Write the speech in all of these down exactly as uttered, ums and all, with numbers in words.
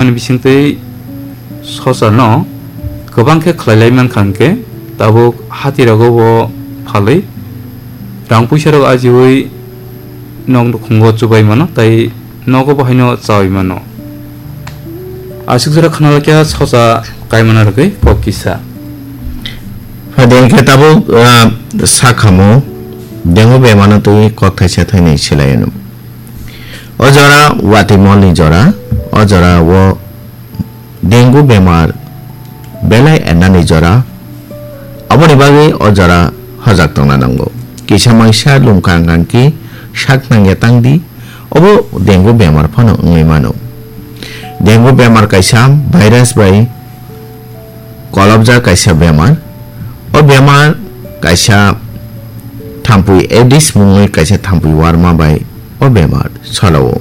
Ani bisingtwi sosa no kwbang khe khlai lai mankha, hwnkhe tabuk hati rogo bo phalwi rang puisa rok ajiwi nok nukhungo chubai mano, tai nogo bo haino chawi mano. Aswk jora khna lakya sosa kaimana rwgwi kok kisa. Phadi hwnkhe tabuk, ah, sakhamo dengue bemano twi kok thaisa thainwi swlai anw. O jora watwi molni jora, o jora o dengue bemar belai ernani jora, aboni bagwi o jora hojak tongna nango. Kisa mangsa lungkang kangki sak nangya tangdi, obo dengue bemar phano wngwi mano. Dengue bemar kaisa virus bai kolobjak kaisa bemar. O bemar kaisa thampui Aedes mungwi kaisa thampui warma bai o bemar salo-o.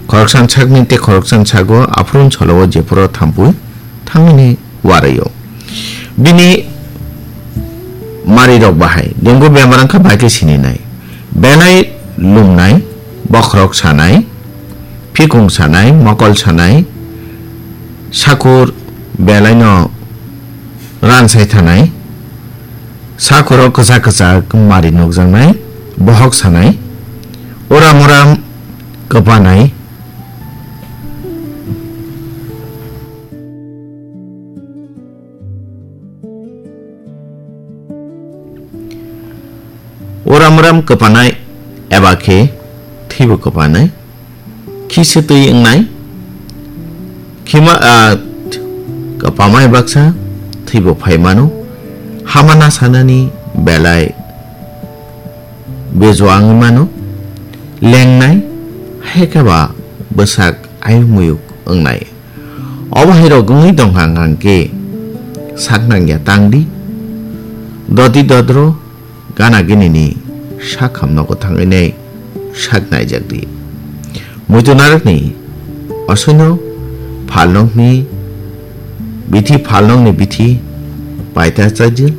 Khoroksan sakni tei khoroksan sago aphuru salo-o, jephuru thampui thangmani warwi-o. Bini marirok bahai dengue bemar wngkha bai khe sininai. Belai lumnai, bokhorok sanai, phikung sanai, mokol sanai, sakur belaino ransai thanai, sakuro kwchak kwchak mari nukjaknai, bohok sanai, uram uram kwpanai. Uram uram kwpanai eba khe thwibo kwpanai. Khisa twi wngnai. Khima, ah, kwpamai baksa thwibo phai mano. Hamana sanani belai bejua wngwi mano. Lengnai, hai khe ba bwsak ayuk muyuk wngnai. Obo hai rok wngwi tongkha hwnkhe sak nangya tangdi. Dodi dodro gana ginini sak ham nogo thangwi nai sak naijak di. Muitu narwkni osoino phalnokni bithi, phalnokni bithi paita chaijil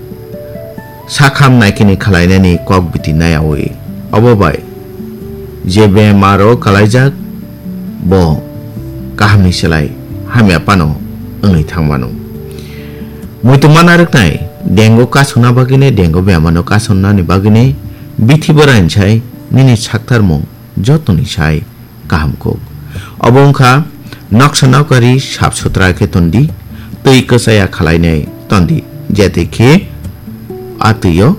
sak ham naikini khwlainani kok biti nayawi. Obo bai je bemaro kwlaijak bo kahamni slai hamya phano wngwi thangmano. Muitu mana rwknai, dengue kasuna bagwini, dengue bemano kasunani bagwini bithi bwraini sai nini saktarmung jotoni sai kaham kuk. Obo wngkha noksa nokari sap sutra khe tondi, twi kwchaya khwlainai tondi, je twi khe a twio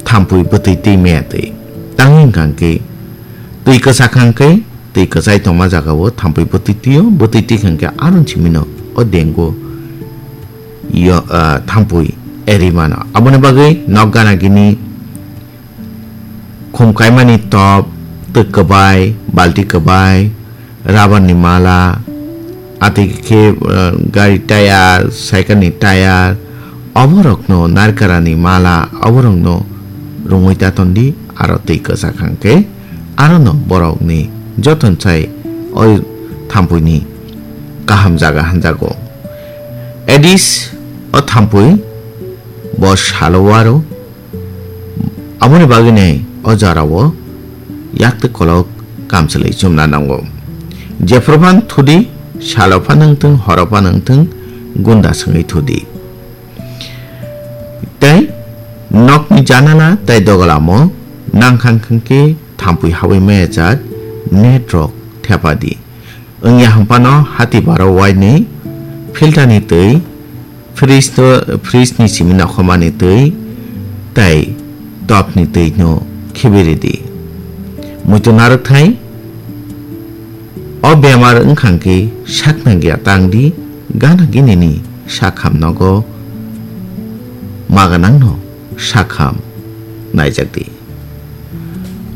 thampui bwtwi twi maya twi. Tangwi wngkha hwnkhe twi kwchak hwnkhe twi kwchai tongma jagao thampui bwtwi twio, bwtwi twi hwnkhe aron simino o dengue yo, ah, thampui eri mano. Aboni bagwi nok gana gini khum kaimani top, twk kwbai, balti kwbai, rubber ni mala, atwi khe, ah, gari tayar, cycle ni tayar, oborokno narikara ni mala, oborokno rwngwi ta tondi, aro twi kwchak hwnkhe. Arono borokni joton chai o thampuini kaham jaga hanjago. Aedes o thampui bo salo waro, aboni bagwini o jorao yaktwi kolok kamchwlwi chumna nango. Jephru phano thudi, salo phano wngthung, horo phano wngthung, gunda swngwi thudi. Tei nokni janala tei dogalamo nangkha hwnkhe thampui hawi maya jak net rok thepa di. Wngya hwnphano hati baro wainwi filter ni twi, fridge to, fridge ni simi nokhormani twi tei top ni twi no khibi ridi. Muitu narwkthai. O bemar wngkha hwnkhe sak nangya tang di, gana gini ni sak ham nogo ma gwnang no sak ham naijak di.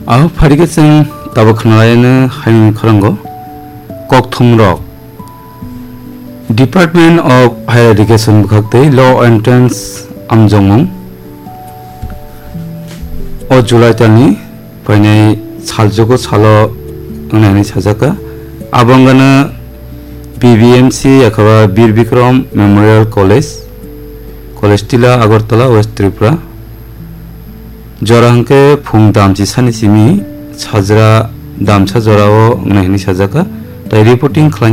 Abo phaikhe chwng tabuk khwnalaino haino khwrwngo kokthum rok. Department of Higher Education bwkhak tei Law Entrance amjongmung o July talni phainai saljugo salo wngnai hinwi sajak kha. Abo wngkha no B B M C yakhaba Bir Bikram Memorial College, College Tila, Agartala, West Tripura. Jora hwnkhe phung damchi sani simi sajra damsa jorao wngnai hinwi sajak kha. tei reporting khlaina